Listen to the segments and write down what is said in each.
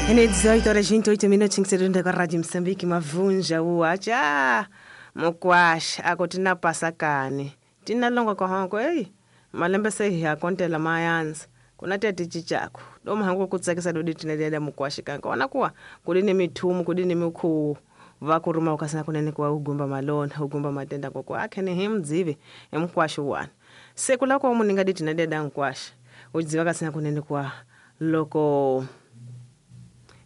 Ene 18 horas 28 minutos ngisedonda kwa Radio Msambiki mavunja uacha mukwasha ako tina pasakani tina longa kwa honko ei malembe se hi akontela mayanza kuna tete chichako doma hangu kutsakisa dodi tina dada mukwasha kanka ona kuwa kudini mithumu kudini mikhuwu vakuruma ukasina kunene kwa ugumba malona ugumba matenda koko akhene himdzive emkwasha wana siku lako muninga diti na dada nkwasha udziva kasina kunene kwa loko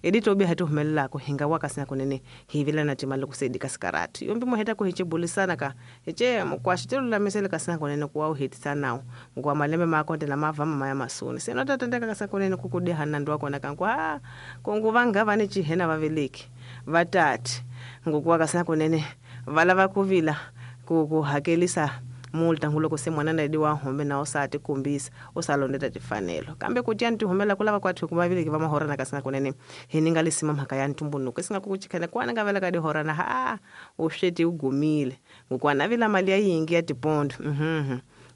editobe hati humelelako hinga wakasina kunene hivila na timali kusaidika sikarati yombi muheta kuhichibulisana ka hiche mukwasha tilulamisele kasina kunene kuwa uhitisa nawo ngwa malembe makonde na mavama maya masuni seno tatendeka kasina kunene kukudihana ndo wakona kankwa kongu vanga vane chihena vaveleki vatati ngokuwa kasina kunene vala vakuvila kuhakelisa multa nguloko se mwana na wa home na usati kumbisa usalondeta tifanelo kambe kuti antihumela kulava kwathu kumaviliki va mahorana kasina kunene hininga lisima mhaka ya ntumbunuko isinga kukuchikhana kwana nga vela ka dihorana ha usweti ugumile ngokwana vila mali ya yingi ya tipondo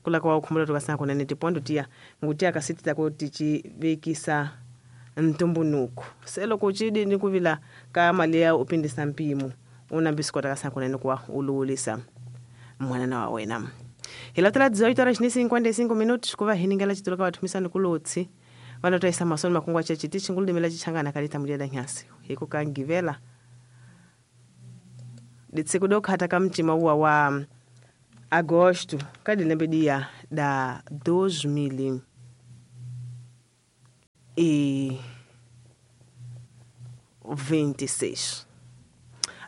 kula kwa ukhumbula tukasina kunene tipondo tiya ngutiya kasiti tako tichivekisa ntumbunuko selo kuchidi kuvila ka mali ya upindisa mpimo unambisikota kasina kunene kwa uluulisa mwanana wa wena hilatela 18 horas ni 55 minutos kuva hiningela chitulo ka vathumisani kulotsi vanotaisa masoni makungu ache chiti chinguludimela chichangana kalita mudyada nyasi hiko kangivela ditsiku dokhata ka mtima uwa wa agosto kadilembe dia da 2026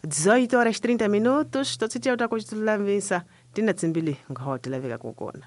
18 horas 30 minutos totsitiya utakuchitulavisa tina tsimbili ngaho tilaveka kukona.